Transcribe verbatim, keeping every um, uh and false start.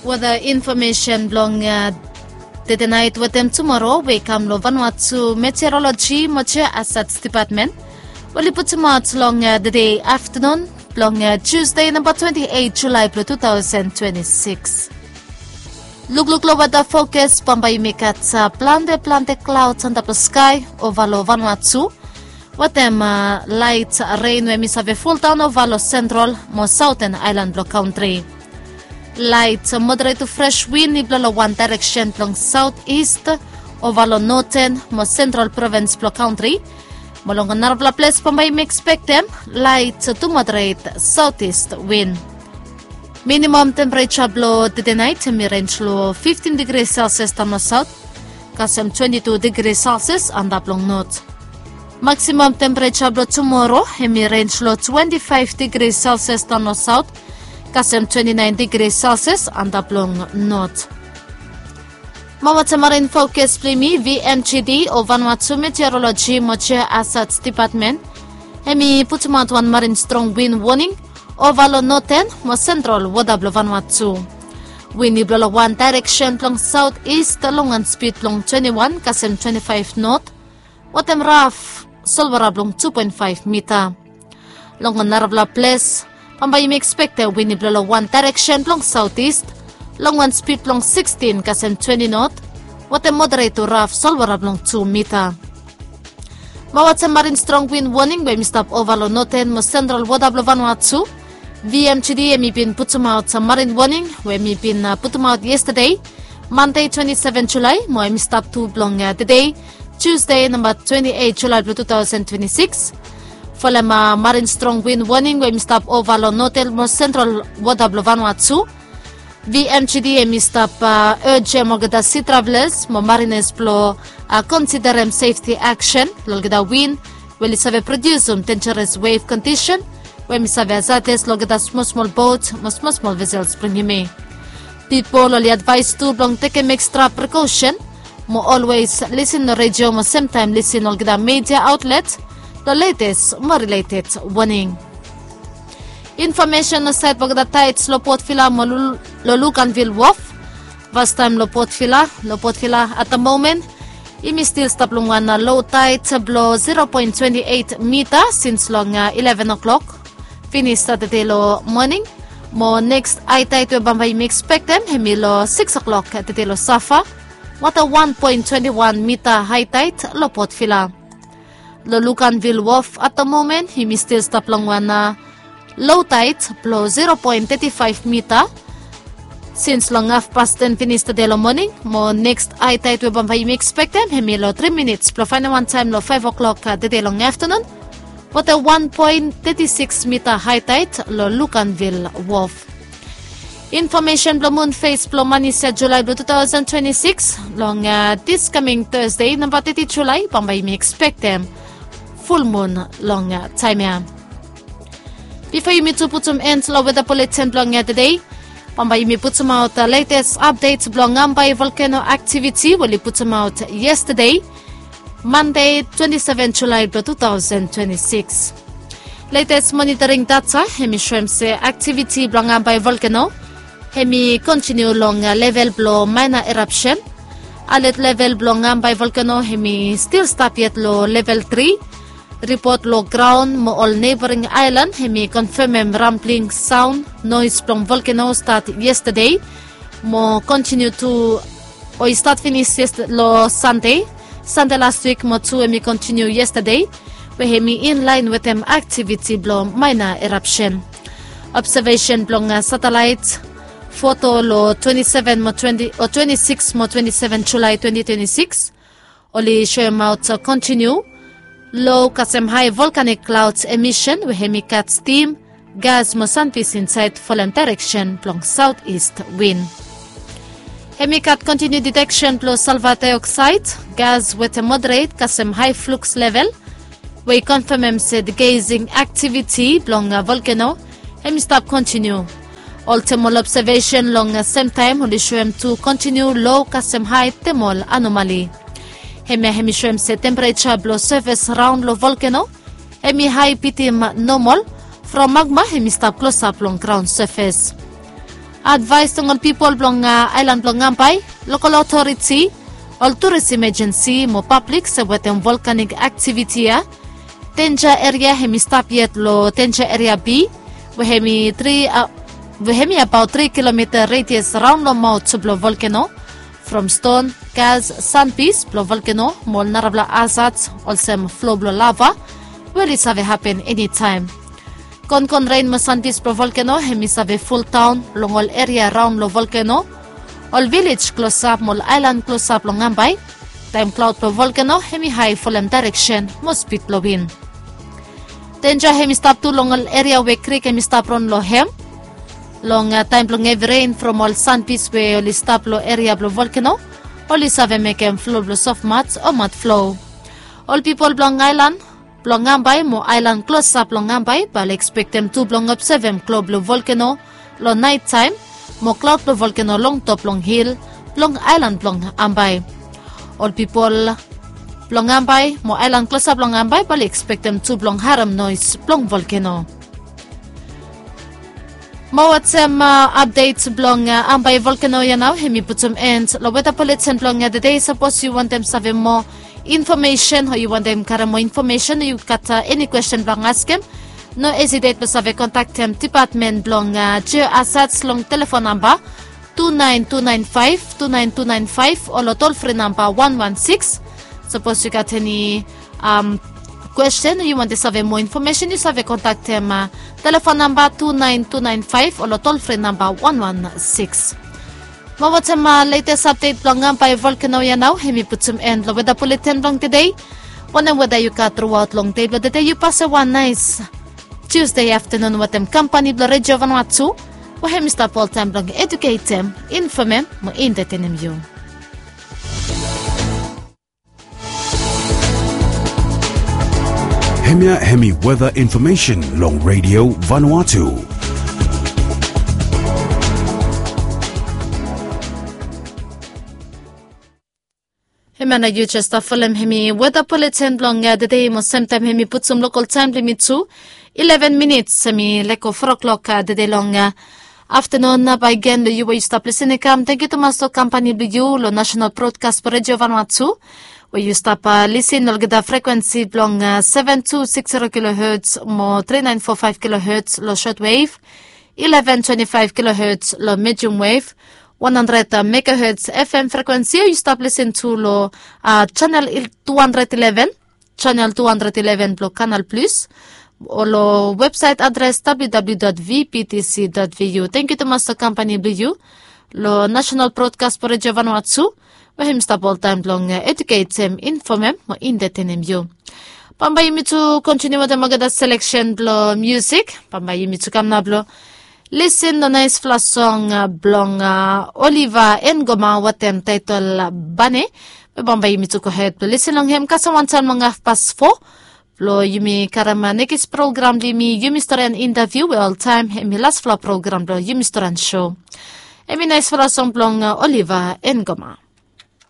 Weta infomesen blong tede nait wetem tumoro we i kam long Vanuatu Meteorologi mo Geohazards Dipatmen, oli putumaot long tede aftanun blong Tusde namba twenti eit Julae blong tu taosen twenti sikis. Lukluk long weta fokas, bambae yumi gat plante plante klaods antap long skae ova long Vanuatu, wetem laet ren we hemi save foldaon ova long sentral mo saoten aelan blong kantri. Laet moderet tu fres win i blo long wan daereksen blong saotis ova long noten mo sentral provins blong kantri. Mo long narafala ples bambae yumi ekspektem laet tu moderet saotis win. Minimam tempereja blong tede nait hemi renj long fiftin digri selsias daon long saot kasem twenti tu digri selsias antap long not. Maksimam tempereja blong tumoro hemi renj long twenti faef digri selsias daon long saot kasem twenti naen digri selsias antap long not. Mo wetem marin fokas blong yumi, VMGD o Vanuatu Meteorologi mo Geohazards Dipatmen hemi putumaot wan marin strong win woning ova long noten mo sentral wota blong Vanuatu. Win i blo long wan daereksen blong saotis long wan spid blong twenti wan kasem twenti faef not, wetem raf solwara blong tu poen faef mita. Long narafala ples bambae yumi ekspektem win i blo long wan daereksen blong saotis long wan spid blong sikstin kasem twenti not, wetem moderet tu raf solwara blong tu mita. Mo wetem marin strong win woning we hemi stap ova long noten mo sentral wota blong Vanuatu, VMGD hemi bin putumaot marin woning we hemi bin putumaot yestade, Mande twenti seven Julae, mo hemi stap tu blong tede, Tusde namba twenti eit Julae blong tu taosen twenti sikis. Folem marin strong win woning we hemi stap ova long noten mo sentral wota blong Vanuatu, VMGD hemi stap ejem olgeta si travelas mo marinas blo konsiderem sefti aksen long olgeta win we oli save prodiusum denjeres wef kondisen we hemi save hazades long olgeta smol smol bot mo smol smol vesels blong yumi. Pipol oli advaes tu blong tekem ekstra prekosen mo olwes lisin long redio mo semtaem lisin long olgeta midia aotlet long letes mo rileted woning. Infomesen long saed blong olgeta taets long Port Vila mo long Luganville Wharf. Fastaem long Port Vila, long Port Vila at the moment yumi stil stap long wan lo taet blong zero poen twenti eit mita sins long ileven o'clock finis tede long moning. Mo neks hae taet we bambae yumi ekspektem hemi long sikis o'clock tede long safa, wetem wan poen twenti wan mita hae taet long Port Vila. Long Luganville Wharf at the moment yumi stil stap long wan lo taet blong zero poen teti faef mita sins long hafpas ten finis tede long moning. Mo neks hae taet we bambae yumi ekspektem hemi long tri minits blong faenem wan taem long faef o'clock tede long aftanun, wetem wan poen teti sikis mita hae taet long Luganville Wharf. Infomesen blong mun fes blong manis ya Julae blong tu taosen twenti sikis long dis kaming Tasde namba teti Julae, bambae yumi ekspektem fulmun long taem ya. Bifo yumi tu putum en long weta buletin blong tede, bambae yumi putumaot letes apdet blong Ngambai volkeno aktiviti we oli putumaot yestade, Mande twenti seven Julae blong tu taosen twenti sikis. Letes monitoring data hemi soem se aktiviti blong Ngambai volkeno hemi kontiniu long level blong maena erapsen. Alet level blong Ngambai volkeno hemi stil stap yet long level tri. Ripot long graon mo ol neboring aelan hemi konfemem rambling saon noes blong volkeno stat yestade mo kontiniu tu o i stat finis long Sande, Sande las wik mo tu hemi kontiniu yestade, we hemi inlaen wetem aktiviti blong maena erapsen. Obsevesen blong satelaet foto long twenti seven mo twenti o twenti sikis mo twenti seven Julae twenti twenti sikis oli soemaot kontiniu lo kasem hae volkanik klaods emisen we hemi gat stim, gas mo sanfis insaed folem daereksen blong saotis win. Hemi gat kontiniu diteksen blong salva daeoksaed gas wetem moderet kasem hae fluks level we i konfemem se digeising aktiviti blong volkeno hemi stap kontiniu. Ol temol obsevesen long semtaem oli soem tu kontiniu lo kasem hae temol anomali. Hemia hemi soem se tempereja blong sefes raon long volkeno hemi hae bitim nomol from magma hemi stap klosap long graon sefes. Advaes long ol pipol blong aelan blong Ambae, lokol otoriti, ol turis imejensi mo pablik se wetem volkanik aktiviti ya. Denja eria hem i stap yet long denja eria B, we hem i tri we hem i abaot tri kilomita redias raon long maot blong volkeno, from ston, gas, sanpis blong volkeno mo ol narafala azat olsem flo blong lava, we oli save hapen enitaem. Konkon ren mo sanpis blong volkeno hem i save fuldaon long ol eria raon long volkeno, ol vilej klosap mo ol aelan klosap long Ambae. Taem klaod blong volkeno hem i hae folem daereksen mo spid blong win. Denja hem i stap tu long ol eria we krik hem i stap ron long hem. Long taem blong hevi ren from ol sanpis we oli stap long eria blong volkeno, oli save mekem flo blong sofmat o mat flo. Ol pipol blong aelan blong Ambae mo aelan klosap long Ambae bae oli ekspektem tu blong obsevem klo blong volkeno long naetaem mo klaod blong volkeno long top long hil blong aelan blong Ambae. Ol pipol blong Ambae mo aelan klosap long Ambae bae oli ekspektem tu blong harem noes blong volkeno. Mo wetem apdet blong Ambae volkeno ya nao hem i putum en long weta buletin blong tede. Sapos yu wantem save moa infomesen o yu wantem karem moa infomesen o yu gat eni kwesten blong askem, no hesitate blong save kontaktem dipatmen blong jeo asats long telefon namba tu naen tu naen faef tu naen tu naen faef o long tolfri namba wan wan sikis. Sapos yu gat eni kwesten o yu wantem save moa infomesen yu save kontaktem telefon namba tu naen tu naen faef o long tolfri namba wan wan sikis. Mo wetem letes apdet blong Ambae volkeno ya nao hem i putum en long weta buletin blong tede. Wanem weta yu gat truaot long dei blong tede yu pasem wan naes Tiusde aftenun wetem kampani blong Redio Vanuatu, we hem i stap oltaem blong eduketem, infomem mo entetenem yu. Hemia hem i weta infomesen long Redio Vanuatu. Hemia nao yu jes stap folem hem i weta buletin blong tede mo semtaem hem i putum lokol taem blong yumi tu. Ileven minits hem i lego fo klok tede long aftenun. Baegen long yu we yu stap lisin i kam, tangkiu tumas long kampani blong yu long Nasenal Brodkas blong Redio Vanuatu, we yu stap lisin long olgeta frekwensi blong seven two six zero kilohertz mo three nine four five kilohertz long shortwave, eleven twenty-five kilohertz long medium wave, one hundred megahertz F M frekwensi o yu stap lisin tu long chanel two hundred eleven, chanel two hundred eleven blong Kanal Plus, o long websaet adres W W W dot V B T C dot V U. Tangkiu tumas long kampani blong yu long Nasenal Brodkas blong Redio Vanuatu, we hem i stap oltaem blong eduketem, infomem mo entetenem yu. Bambae yumi tu kontiniu wetem olgeta seleksen blong miusik. Bambae yumi tu kam nao blong lisin long naesfala song blong Oliva Engoma wetem taetol Bane. Be bambae yumi tu gohed blong lisin long hem kasem wantaem long hafpas fo, blong yumi karem nekis program blong yumi, Yumi Storian Intaviu, we oltaem hem i lasfala program blong Yumi Storian Sou. Hem i naesfala song blong Oliva Engoma.